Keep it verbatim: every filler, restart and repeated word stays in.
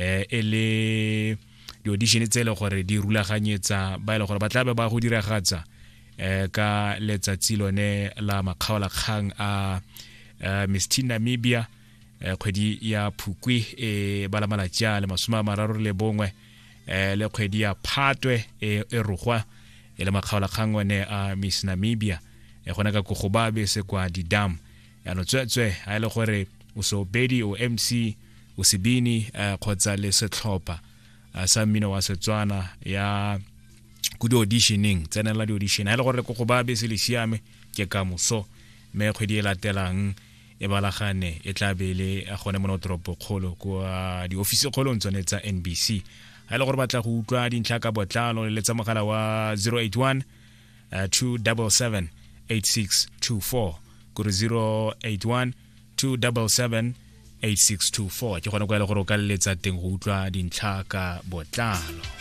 Eh e le di-audition tse e le gore di rulaganyetsa ba e le gore ba tla be ba go diragatsa eh ka letsatsi lone la makgaolakgang a eh, Miss Teen Namibia eh, kgwedi ya Phukwi e bala malatsi a le masome a mararo le bongwe, eh, le kgwedi ya Phatwe e e rogwa e le makgaolakgang one a Miss Namibia e gona ka Kogobabe se kwa didam. Yaanong tsweetswe, a e le gore o seopedi, o M C, o sebini, eh, kgotsa le setlhopha eh, sa mmino wa Setswana, ya ko di-auditioneng, tsenela di-audition. Ha e le gore ko go ba bese le siame, ke ka moso, mme kgwedi e latelang e balagane e tla be le gone mo toropokgolo kwa di-office kgolong tsone tsa N B C. Ha e le gore batla go utlwa dintlha ka botlalo, le letsa mogala wa zero eight one uh, two seven seven eight six two four, kore zero eight one two seven seven eight six two four, ke gone kwa e le gore o ka leletsa teng go utlwa dintlha ka botlalo.